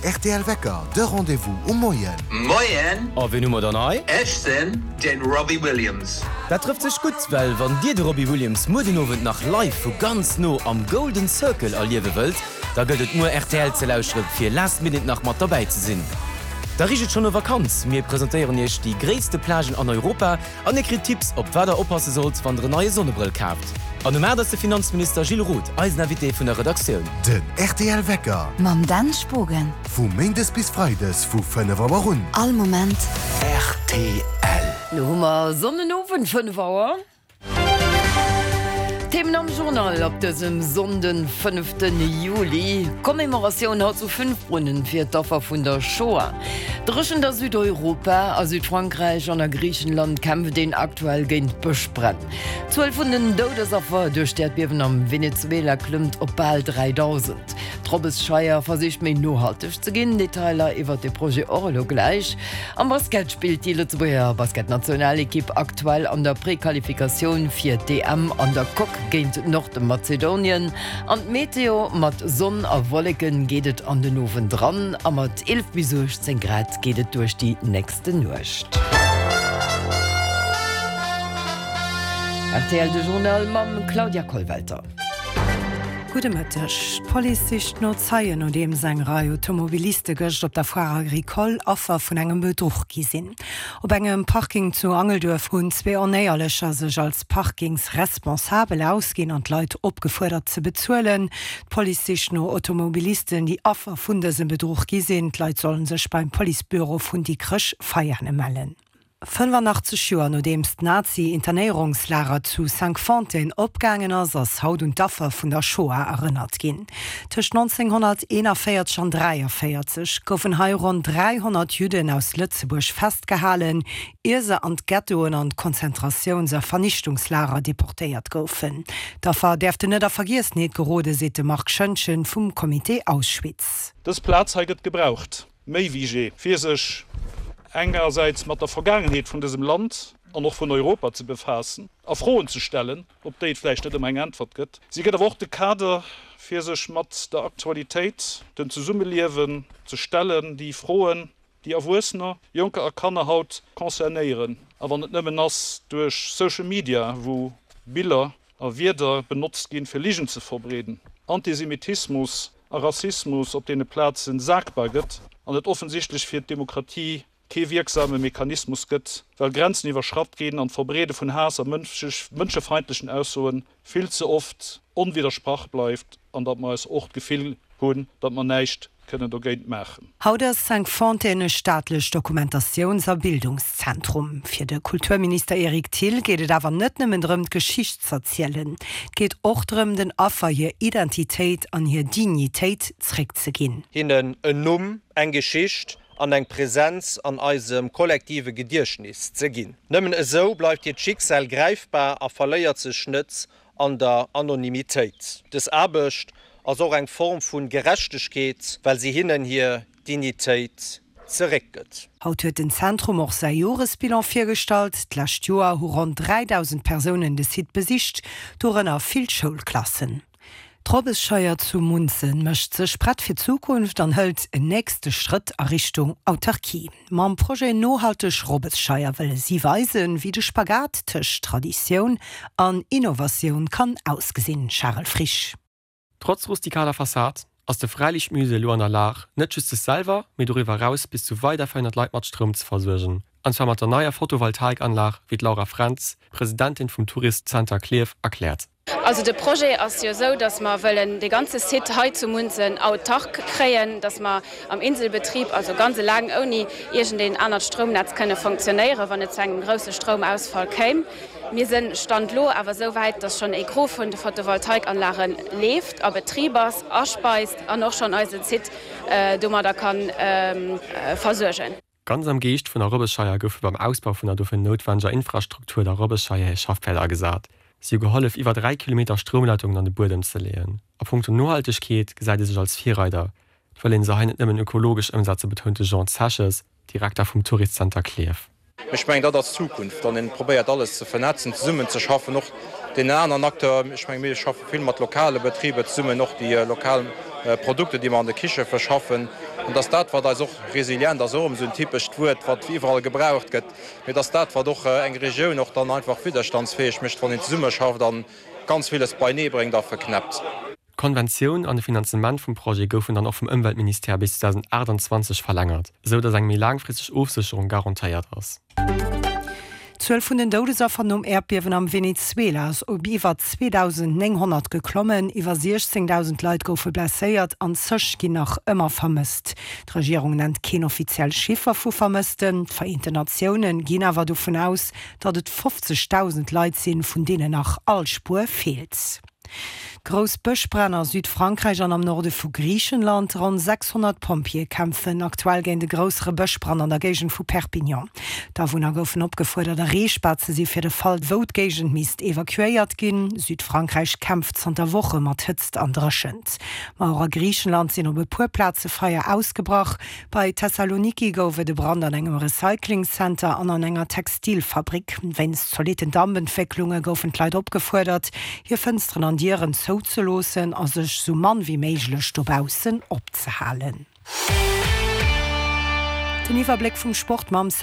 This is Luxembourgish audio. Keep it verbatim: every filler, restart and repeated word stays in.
rtl Wecker, de Rendez-vous um Moien. Moien! A wien hu mer dann hei? Ech sinn den Robbie Williams. Dat trëfft sech gutt, well wann dir de Robbie Williams muer den Owend nach live vu ganz no am Golden Circle erliewe wëllt, da gëllt et muer rtl ze lauschtere fir last minute nach mat derbäi ze sinn. Da richt et schonn no Vakanz. Mir presentéieren iech déi gréisste Plagen an Europa an dir kritt Tipps op wat der oppasse sollt, wann der en neie Sonnebrëll kaaft. An um aacht ass de Finanzminister Gilles Roth eisen Invité vun der Redaktioun. Den rtl Wecker. Mam Dan Spogen. Vu Méindes bis Freides vu fënnef Auer un. All Moment. Rtl. Lo hu mer Sonnenowend, fënnef Auer. Themen am Journal op dësem Sonnden fënneften Juli, Commemoratioun haut zu Fünfbrunnen fir d'Affer vun der Shoah. Dréchent a Südeuropa, a Südfrankräich an a Griichenland kämpft een aktuell géint Bëschbränn. D'Zuel vun den Doudesaffer duerch d'Äerdbiewen am Venezuela klëmmt op bal dräidausend. D'Robbesscheier versicht méi nohalteg ze ginn, Detailer iwwert de Projet och elo gläich. Am Basket spillt déi Lëtzebuerger Basketnationalekipp aktuell an der Prequalifikatioun fir d'EM an der Coque géint Nordmazedonien. An d'Meteo, Mat Sonn a Wolleken geet et an den Owend ran a mat eelef bis uechtzéng Grad geet et duerch déi nächste Nuecht. Rtl, De Journal mam Claudia Kollwelter. Gudde Mëtteg. D'Police sicht no Zeien, nodeems eng Rei Automobiliste gëscht op der Foire Agricole Affer vun engem Bedruch gi sinn. Op engem Parking zu Angelduerf hunn zwee Onéierlecher sech als Parkingsresponsabel ausginn an d'Leit opgefuerdert ze bezuelen. D'Police sicht no Automobilisten, déi Affer vun dësem Bedruch gi sinn. D'Leit sollen sech beim Policebüro vun Dikrech-Veiane mellen. fënnefanachtzeg Joer nodeems d'Nazi-Internéierungslager zu Cinqfontaines opgaangen ass, ass haut un d'Affer vun der Shoah erënnert ginn. Tëscht nonzénghonnerteenavéierzeg an dräiavéierzeg goufen hei ronn dräihonnert Judden aus Lëtzebuerg festgehalen, ier se an d'Ghettoen an d'Konzentratiouns a Vernichtungslager deportéiert goufen. D'Affer däerften net a Vergiessenheet gerode, seet de Marc Schoentgen vum Comité Auschwitz. Dës Plaz hei gëtt gebraucht, méi wéi jee, fir sech engersäits mat der Vergaangenheet vun dësem Land an och vun Europa ze befaassen a Froen ze stellen, op déi et vläicht net ëmmer eng Äntwert gëtt. Si gëtt awer och de Kader, fir sech mat der Aktualitéit, dem Zesummeliewen ze stellen, déi Froen, déi Erwuessener, Jonker a Kanner haut concernéieren, a wann et nëmmen ass duerch Social Media, wou Biller a Wierder benotzt ginn, fir Ligen ze verbreeden, Antisemitismus a Rassismus op deene Plazen sagbar gëtt an et offensichtlech fir d'Demokratie kee wierksame Mechanismus gëtt, well Grenzen iwwerschratt ginn an d'Verbreede vun Haass a mënschefeindlechen Aussoe vill ze oft onwiddersprach bleift an datt mer eis och d'Gefill hunn, datt mer näischt kënnen dogéint maachen. Haut ass Cinqfontaines e staatlecht Dokumentatiouns a Bildungszentrum. Fir de Kulturminister Eric Thill geet et awer net nëmmen drëm, d'Geschicht z'erzielen. Et geet och drëm, den Affer hir Identitéit an hir Dignitéit zréckzeginn. Hinnen en Numm, eng Geschicht an eng Präsenz an eisem kollektive Gediechtnis ze ginn. Nëmmen esou bleift hiert Schicksal gräifbar a verléiert sech net an der Anonymitéit. Dës Aarbecht ass och eng Form vu Gerechtegkeet, well si hinnen hir Dignitéit zeréckgëtt. Haut huet den Zentrum och säi Joresbilan virgestallt. D'lescht Joer hu ronn dräidausend Persounen de Site besicht, dorënner vill Schoulklassen. D'Robbesscheier zu Munzen mécht sech prett fir d'Zukunft an hëlt en nächste Schrëtt a Richtung Autarkie. Mam Projet Nohalteg Robbesscheier wëlle si weisen, wéi de Spagat tëscht Traditioun an Innovatioun kann ausgesinn. Charel Frisch. Trotz rustikaler Fassad ass de Fräiliichtmusée elo an der Lag, net just sech selwer, mee doriwwer eraus bis zu weider véierhonnert Leit mat Stroum ze versuergen, an zwar mat der neier Photovoltaikanlag, wéi d'Laura Frentz, Presidentin vum Tourist Center Klierf, erkläert. Also de Projet ass jo esou, datt mer wëllen dee ganze Site hei zu Munzen autark kréien, datt mer am Inselbetrib, also ganz eleng ouni iergendeen anert Stroumnetz kënne fonctionnéieren, wann et zu engem grousse Stroumausfall kéim. Mir sinn Stand elo awer esou wäit, datt schonn e Gros vun de Photovoltaikanlage leeft, a Betrib ass, aspeist an och schonn eise Site domadder ka versuergen. Ganz am Geescht vun der Robbesscheier goufe beim Ausbau vun der dofir noutwendeger Infrastruktur der Robbesscheier hir Schaffpäerd agesat. Si hu gehollef, iwwer dräi Kilometer Stroumleitungen an de Buedem ze leeën. A punkto Nohaltegkeet gesäit ee sech als Virreider. Et wëll ee se hei net nëmmen ökologesch ëmsetzen, betount de Jean Zeches, Direkter vum Tourist Center Klierf. Ech mengen, dat ass d'Zukunft, wann een probéiert alles ze vernetzen, zesummenzeschaffen, och deenen aneren Acteuren. Ech menge mir schaffe vill mat lokale Betriber zesummen, och déi lokal Produkter, déi mer an de Kiche verschaffen. An dass dat, wat eis och resilient ass och erëm esou en typescht Wuert, wat iwwerall gebraucht gëtt, mee dass dat, wat och eng Regioun och dann einfach widderstandsfäeg mécht, wann een zesummeschafft a ganz villes beienee bréngt a verknäppt. D'Konventioun an de Finanzement vum Projet goufen dann och vum Ëmweltministère bis zweedausendaachtanzwanzeg verlängert, esou datt eng méi laangfristeg Ofsécherung garantéiert ass. D'Zuel vun den Doudesaffer nom Äerdbiewen am Venezuela ass op iwwer zweedausendnénghonnert geklommen. Iwwer siechzéngdausend Leit goufe blesséiert an zeg ginn nach ëmmer vermësst. D'Regierung nennt keen offiziell Chiffer vu Vermëssten. D'Vereenten Natioune ginn awer dovun aus, datt et fofzegdausend Leit sinn, vun deenen nach all Spuer feelt. Grouss Bëschbränn a Südfrankräich an am Norde vu Griichenland. Ronn sechshonnert Pompjeeë kämpfen aktuell géint e groussere Bëschbrand an der Géigend vu Perpignan. D'Awunner goufen opgefuerdert, erreechbar ze si fir de Fall, wou d'Géigend misst evakuéiert ginn. Südfrankräich kämpft zanter Woche mat Hëtzt an Dréchent. Ma och a Griichenland sinn op e puer Plaze Feier ausgebrach. Bei Thessaloniki gouf et e Brand an engem Recyclingcenter an an enger Textilfabrik. Wéinst zolitten Dampentwécklunge goufen d'Leit opgefuerdert, hir Fënsteren an Dieren zouzeloossen a sech sou mann wéi méiglech dobaussen opzehalen. Den Iwwerbléck vum Sport mam Sam.